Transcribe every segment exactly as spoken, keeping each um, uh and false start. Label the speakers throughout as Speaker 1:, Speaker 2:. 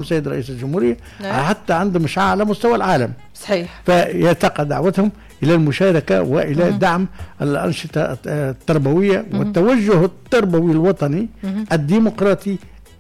Speaker 1: السيد رئيس الجمهورية. نعم. حتى عندهم إشعاع على مستوى العالم.
Speaker 2: صحيح.
Speaker 1: فيتقى دعوتهم إلى المشاركة وإلى مم. دعم الأنشطة التربوية مم. والتوجه التربوي الوطني مم. الديمقراطي،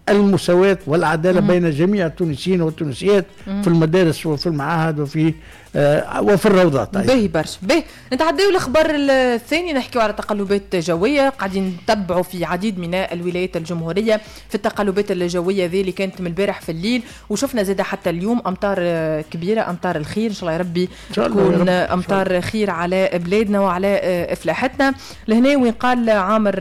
Speaker 1: المساواة والعدالة مم. بين جميع التونسيين والتونسيات مم. في المدارس وفي المعاهد وفي آه وفي الروضات.
Speaker 2: باهي برشا. باهي نتعداو الأخبار الثاني، نحكيو على تقلبات جوية قاعدين نتبعوا في عديد من الولايات الجمهورية في التقلبات الجوية ذي اللي كانت من البارح في الليل، وشفنا زادة حتى اليوم أمطار كبيرة، أمطار الخير إن شاء الله يا ربي تكون أمطار خير على بلادنا وعلى إفلاحتنا. لهنا وين قال عامر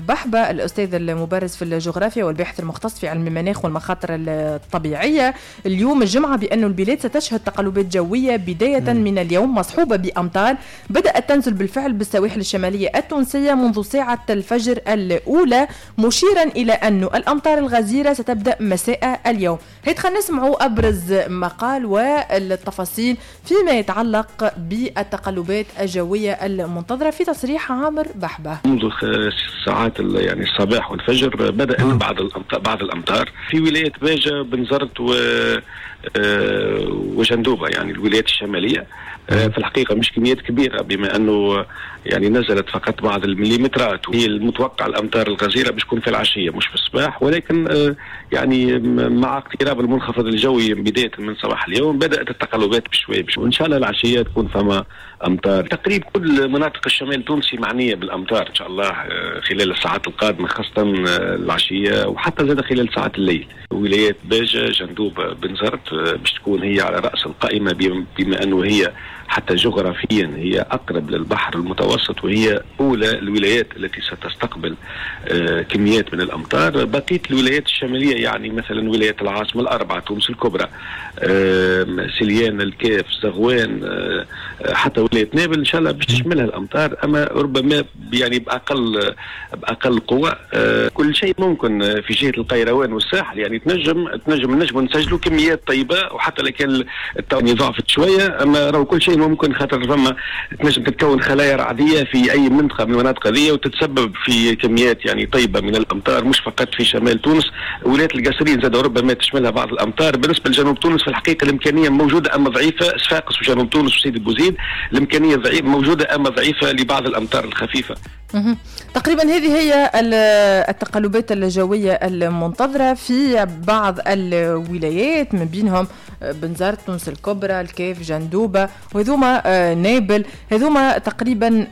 Speaker 2: بحبة الأستاذ المبارز في الجغرافيا والباحث المختص في علم المناخ والمخاطر الطبيعية اليوم الجمعة بأن البلاد ستشهد تقلبات جوية بداية من اليوم مصحوبة بأمطار بدأت تنزل بالفعل بالسواحل الشمالية التونسية منذ ساعة الفجر الأولى، مشيرا إلى أن الأمطار الغزيرة ستبدأ مساء اليوم. هيا خلينا نسمعوا أبرز مقال والتفاصيل فيما يتعلق بالتقلبات الجوية المنتظرة في تصريح عامر بحبة.
Speaker 3: منذ ساعات يعني الصباح والفجر بدأت بعض الأمطار بعض الأمطار في ولاية باجة، بنزرت و وجندوبة، يعني الولايات الشمالية. في الحقيقة مش كميات كبيرة بما أنه يعني نزلت فقط بعض المليمترات، وهي المتوقع الأمطار الغزيرة باش تكون في العشية مش في الصباح، ولكن يعني مع اقتراب المنخفض الجوي بداية من صباح اليوم بدأت التقلبات بشوي بشوي، وإن شاء الله العشية تكون فما أمطار. تقريبا كل مناطق الشمال التونسي معنية بالأمطار إن شاء الله خلال الساعات القادمة، خاصة العشية وحتى زاد خلال ساعات الليل. ولايات باجة، جندوبة، بنزرت باش تكون هي على رأس القائمة بما أنه هي حتى جغرافيا هي أقرب للبحر المتوسط وهي أولى الولايات التي ستستقبل كميات من الأمطار. بقية الولايات الشمالية يعني مثلا ولايات العاصمة الأربعة، تونس الكبرى، سليان، الكاف، زغوان، حتى ولاية نابل إن شاء الله باش تشملها الأمطار، أما ربما يعني بأقل بأقل قوة. كل شيء ممكن في جهة القيروان والساحل، يعني تنجم تنجم نجم نسجلوا كميات طيبة، وحتى لو كان التوني ضعفت شوية أما راهو كل شيء ممكن، خاطر فما تنجم تتكون خلايا رعديه في اي منطقة من المناطق هذه وتتسبب في كميات يعني طيبة من الامطار، مش فقط في شمال تونس. ولاية القصرين زاد ربما تشملها بعض الامطار. بالنسبة لجنوب تونس في الحقيقة الامكانية موجودة اما ضعيفة، صفاقس وجنوب تونس وسيدي بوزيد الامكانية ضعيفة موجودة اما ضعيفة لبعض الامطار الخفيفة.
Speaker 2: تقريبا هذه هي التقلبات الجوية المنتظرة في بعض الولايات من بينهم بنزرت، تونس الكبرى، الكاف، جندوبة، وهذوما نابل. هذوما تقريبا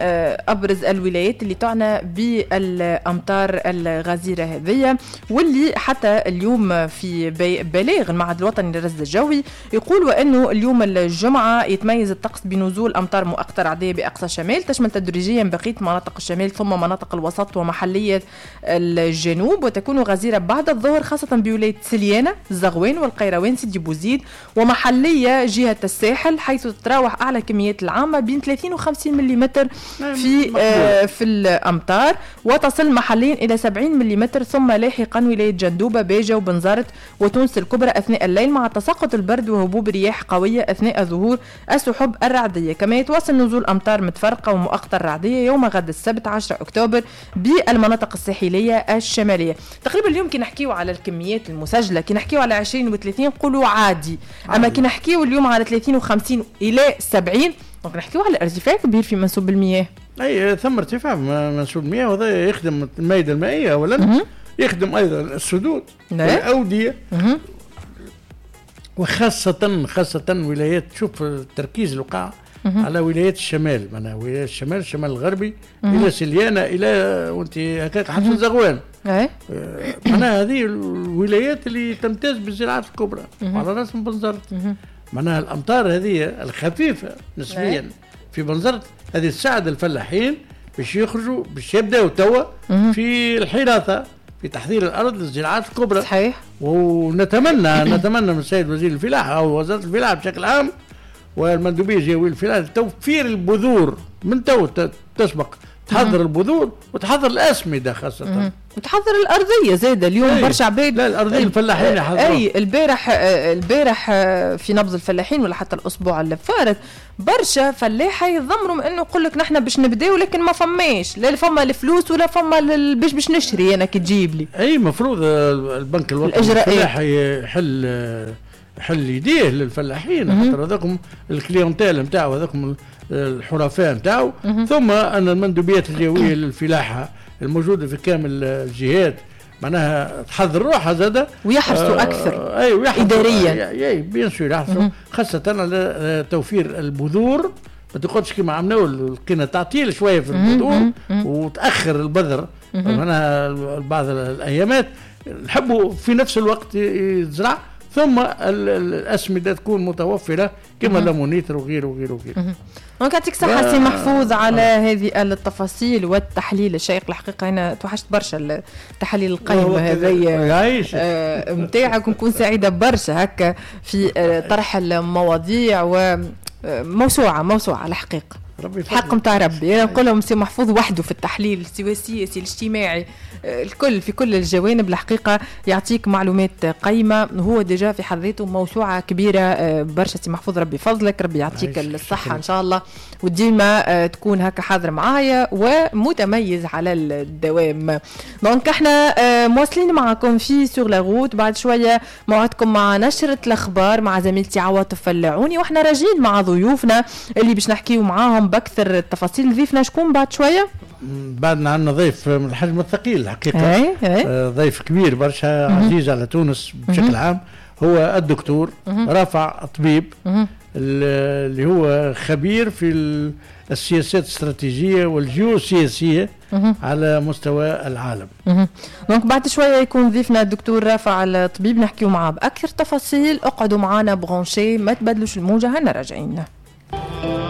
Speaker 2: أبرز الولايات اللي تعنى بالأمطار الغزيرة هذه، واللي حتى اليوم في بلاغ المعهد الوطني للرصد الجوي يقول وأنه اليوم الجمعة يتميز الطقس بنزول أمطار مؤقتة رعدية بأقصى الشمال تشمل تدريجيا بقية مناطق الشمال ثم مناطق الوسط ومحلية الجنوب، وتكون غزيرة بعد الظهر خاصة بولاية سليانة، الزغوان والقيروان، سيدي بوزيد، ومحلية جهة الساحل حيث تتراوح أعلى كميات العامة بين ثلاثين وخمسين ملم في آه في الأمطار، وتصل محليا إلى سبعين ملم، ثم لاحقا ولاية جندوبة، باجة وبنزرت وتونس الكبرى أثناء الليل مع تساقط البرد وهبوب رياح قوية أثناء ظهور السحب الرعدية. كما يتواصل نزول أمطار متفرقة ومؤقتة رعدية يوم غد السبت عشرة أكتوبر بالمناطق الساحلية الشمالية. تقريبا اليوم كي نحكيو على الكميات المسجلة، كي نحكيو على عشرين وثلاثين نقولوا عادي، أما كي نحكيو اليوم على ثلاثين وخمسين إلى سبعين donc نحكيو على ارتفاع كبير في منسوب المياه.
Speaker 1: أي ثم ارتفاع منسوب المياه، وهذا يخدم المائدة المائية أولا، يخدم أيضا السدود والأودية، وخاصة خاصة ولايات، شوف التركيز الوقع على ولايات الشمال، معناها ولايات الشمال، الشمال الغربي الى سليانه الى وانت هكاك حتى زغوان. معناها هذه الولايات اللي تمتاز بالزراعات الكبرى وعلى راسهم بنزرت. معناها الامطار هذه الخفيفة نسبيا في بنزرت هذه تساعد الفلاحين باش يخرجوا، باش يبداوا توا في الحراثه، في تحضير الارض للزراعات الكبرى.
Speaker 2: صحيح.
Speaker 1: ونتمنى نتمنى من السيد وزير الفلاحة او وزارة الفلاحة بشكل عام والمندوبيه الجهوية للفلاحه توفير البذور من تو تسبق تحضر البذور وتحضر الاسمده خاصة
Speaker 2: وتحضر الارضية زاده. اليوم برشا عباد
Speaker 1: لا الارضية الفلاحين يحضروا.
Speaker 2: اي البارح البارح في نبض الفلاحين ولا حتى الاسبوع اللي فات برشا فلاحة يتذمروا من انه يقول لك نحن باش نبداو لكن ما فماش، لا فما الفلوس ولا فما باش باش نشري انا كي تجيب لي.
Speaker 1: اي المفروض البنك الوطني الفلاحي يحل يحل يديه للفلاحين، خاطر هذاكم ال clientèle نتاعو، هذاكم الحرفاء نتاعو. ثم ان المندوبيات الجوية للفلاحه الموجودة في كامل الجهات معناها تحضر روحها زاده
Speaker 2: ويحرصوا آه اكثر.
Speaker 1: اي ويحرصوا
Speaker 2: اداريا.
Speaker 1: اي bien sûr يحرصوا خاصة على توفير البذور. ما تقعدش كيما عملنا لقينا تعطيل شوية في البذور وتاخر البذر معناها بعض الايامات. نحبوا في نفس الوقت يتزرع، ثم الاسمده تكون متوفرة كما l'ammonitre وغيره وغيره وغيره.
Speaker 2: donc يعطيك صحة سي محفوظ على هذه التفاصيل والتحليل الشيق. الحقيقة أنا توحشت برشا التحاليل القيمة هذيا نتاعك، ونكون سعيدة برشا هكا في طرح المواضيع وموسوعة موسوعة الحقيقة.
Speaker 1: ربي
Speaker 2: الحق نتاع ربي، انا نقول لهم سي محفوظ وحده في التحليل سواء السياسي الاجتماعي الكل في كل الجوانب. الحقيقة يعطيك معلومات قيمة، هو déjà في حد ذاته موسوعة كبيرة برشا. سي محفوظ ربي فضلك، ربي يعطيك الصحة ان شاء الله، وديما تكون هكا حاضر معايا ومتميز على الدوام. donc احنا مواصلين معكم في sur la route. بعد شوية موعدكم مع نشره الاخبار مع زميلتي عواطف العوني، واحنا راجعين مع ضيوفنا اللي باش نحكيو معاهم باكثر التفاصيل. ضيفنا شكون بعد شوية؟
Speaker 1: بعدنا عندنا ضيف من الحجم الثقيل الحقيقة.
Speaker 2: اي اي
Speaker 1: آه ضيف كبير برشا، عزيز على تونس بشكل عام، هو الدكتور رافع طبيب، اللي هو خبير في السياسات الاستراتيجية والجيوسياسيه على مستوى العالم.
Speaker 2: donc بعد شوية يكون ضيفنا الدكتور رافع الطبيب، نحكيو معاه باكثر تفاصيل. اقعدوا معنا branchés، ما تبدلوش الموجه، هنا راجعين.